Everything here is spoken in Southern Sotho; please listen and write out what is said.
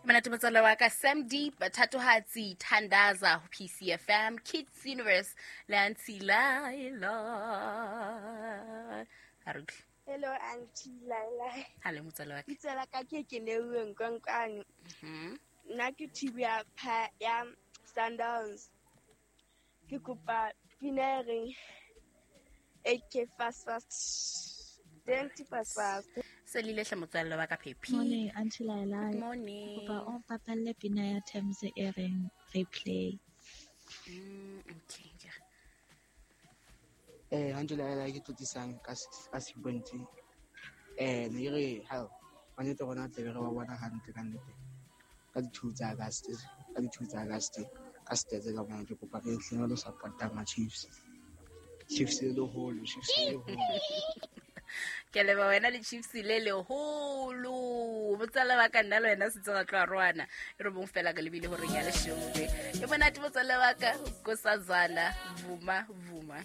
Monate motswalle wa ka Sam Deep, Thatohatsi, Thandaza ho PCFM, Kids Universe le Auntie Laila. A re utlwe. Hello Auntie Laila. Hale motswalle wa ka. Bitso la ka ke Keneuwe Nkonkwane. Nna ke team ya ya Sundowns. Ke kopa pina e reng AK fast fast. Twenty fast fast. Se lile hle motswalle wa ka Phephi. Morning, Auntie Laila. Good morning. Kopa o mpapalle pina ya Thames e reng replay. Okay. Yeah. Auntie Laila ke tlotisang ka sequence. Ne ke re ha ba nnete rona tle re ba bona hantle ka nnete. Ka di-2 tsa August, ka di-2 tsa August, ka stats ka bona ke kopa re tle re lo support-a ma Chiefs. Chiefs le leholo, Chiefs le leholo. Ke leba wena le Chiefs le leholo. Motswalle wa ka nna le wena setse ra tloa roana. E re bong fela ka lebile horeng ya leshome. E monate motswalle wa ka, Nkosazana, Vuma, Vuma.